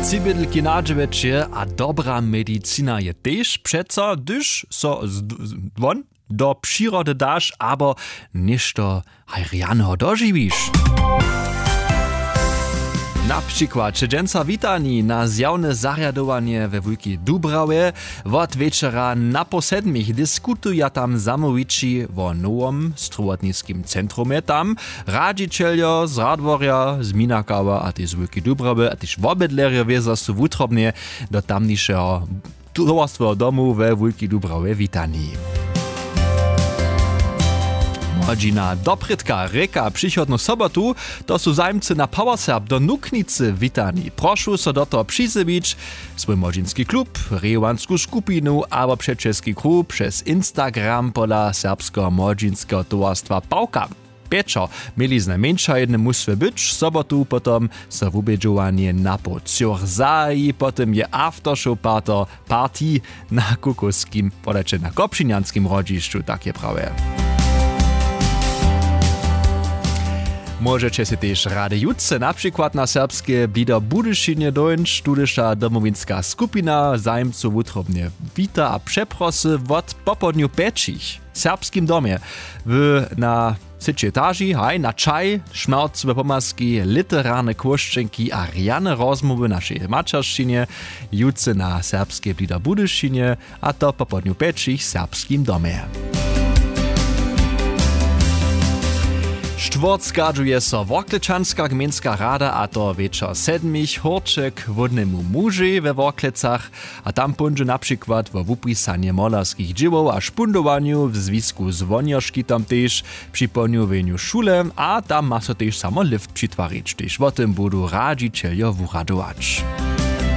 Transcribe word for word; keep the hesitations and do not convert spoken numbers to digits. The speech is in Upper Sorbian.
Tři bydlki na dźewjeće a dobra medicina je tež přeco, hdyž so z- z- won do přirody daš abo něšto haj rjaneho dožiwiš. Na přikład dźensa witani na zjawne zarjadowanje we Wulkej Dubrawje wot wječera na poł sedmich diskutuja tam zamołwići wo nowom strowotniskim centrumje. Tam radźićeljo z Radworja, z Minakawa a tež z Wulkej Dubrawy a tež wobydlerjo wězo su wutrobnje do tamnišeho towarstweho domu we Wulkej Dubrawje witani. Młodźina doprědka rěka přichodnu sobotu, to su zajimcy na Powerserb do Nuknicy witani. Prošu so do toho přizjewić, swój młodźinski klub, rejowansku skupinu abo přećelski kruh přez Instagram pola serbskeho młodźinskeho towarstwa Pawka. Pječor měli znajmjeńša jedne mustwy być, sobotu potom so wubědźowanje na poł třoch zahaji, potom je aftershow party na kukowskim podaće na kopřinjanskim hrodźišću, tak je prawje. Móžeće sej tež rady jutře na přikład na serbske blido w Budyšinje dóńć, tudyša domowinska skupina zajimcow wutrobnje wita a přeprosy wot popołdnju pjećich w serbskim domje w na třećej etaži haj na čaj, šmjercowe pomazki, literarne chłóšćenki a rjane rozmołwy našej maćeršćinje jutře na serbskej blido w Budyšinje, a to popołdnju pjećich w serbskim domje. Štwórtskadźuje so worklečanska gmejnska rada, a to wječor sedmich hórće k hłódnemu mužej we Worklecach. A tam póńdźe na přikład wo wupisanje molerskich dźěłow a špundowanju w zwisku z wonjoškitom tež při połnjowjenju šule, a tam ma so tež samo lift přitwarić, tež wo tym budu radźićeljo wuradować.